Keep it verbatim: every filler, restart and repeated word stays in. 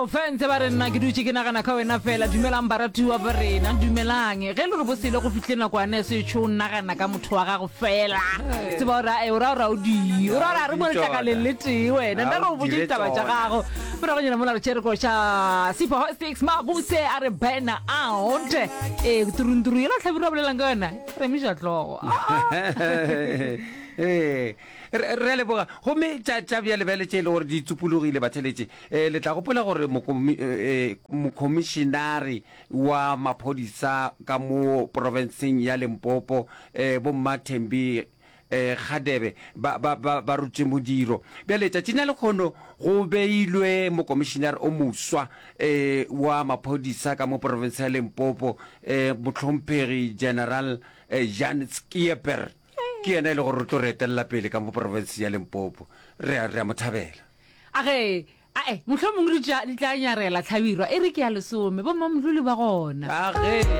Offense ba re nna ke dutše ke nagana ka wena fela. Dumelang baratiwa ba rena, dumelang. Ge le re bosele go fihle nakwane setsho o nagana ka motho wa gago fela. Tseba gore e o ra gore o di. O ra gore a re mo letlakaleng le tee wena. Nna re o botše ditaba tša gago. Moragonyana mola re tšere koša Sipho Hotstix Mabuse a re burn out. Ee, turunturu yela Hlabirwa a bolelang ka yona. Re emiša hlogo. Ee, re re a leboga. Gomme tša tša bjale bjale tše e le gore di tsupologile batheletše, eh, le tla gopola gore mokomi, eh, mokhomišinare wa maphodisa ka mo profenseng ya Limpopo, eh, Bomma Thembi eh, Kgadebe ba, ba, ba, ba rutše modiro. Bjale tšatšing la lekgono go beilwe mokomišinare o moswa eh, wa maphodisa ka mo profense ya Limpopo, eh, mohlomphegi General eh, Jan Schieper. Ke yena e le gore o tlo re etelela pele ka mo profense ya Limpopo. Re a, re a mo thabela. A ge, ae, mohlomongwe di tla, di tla nyarela Hlabirwa, e re ke ya lesome, bommamolole ba gona. A ge.